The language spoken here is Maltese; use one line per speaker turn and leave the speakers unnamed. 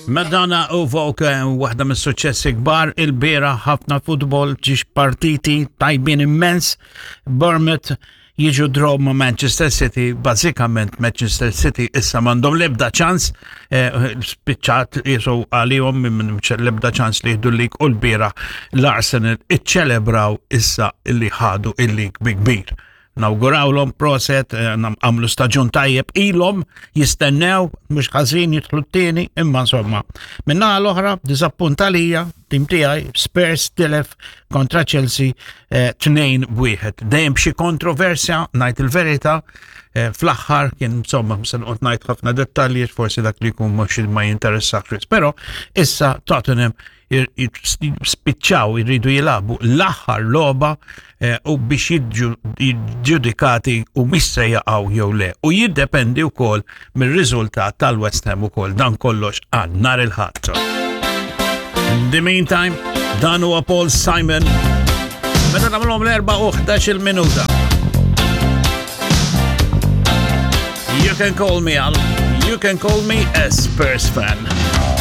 Madonna u Vogue eh, waħda mis-suċċessi kbar il-bira ħafna futbol ġiex partiti tajbin immens. Bournemouth jiġu draw ma' Manchester City, bażikament Manchester City issa m'għandhom l-ebda ċans, eh, spiċċat jisu għalihom minn l-ebda ċans li jieħdu l-lig u l-bira l-Arsenal iċċelebraw issa li ħadu il-lig bi kbir. Nawgurawlhom proset, eh, għamlu staġun tajjeb ilhom jistennew mhux ħażin jidħlu t-tieni, imma insomma. Minna l-oħra diżappunt għalija, tim tiegħi Spurs tilef kontra Chelsea eh, tnejn b'wieħed. Dejjem b'xi kontroversja, ngħid il-verità, eh, fl-aħħar kien insomma se noqgħod ngħid ħafna dettalji forsi dak li jkun mhux ma jinteressax però issa Tottenham spiċċaw jridu jilabu l-aħħar logħba eh, u biex jiġġudikati u mhix se jaqgħu jew le. U jiddependi wkoll mir-riżultat tal-West Ham ukoll dan kollox għal nhar il-Ħadd. In the meantime, dan huwa Paul Simon. Meta nagħmluhom l-4 u 11 minuta. You can call me Al. You can call me a Spurs fan.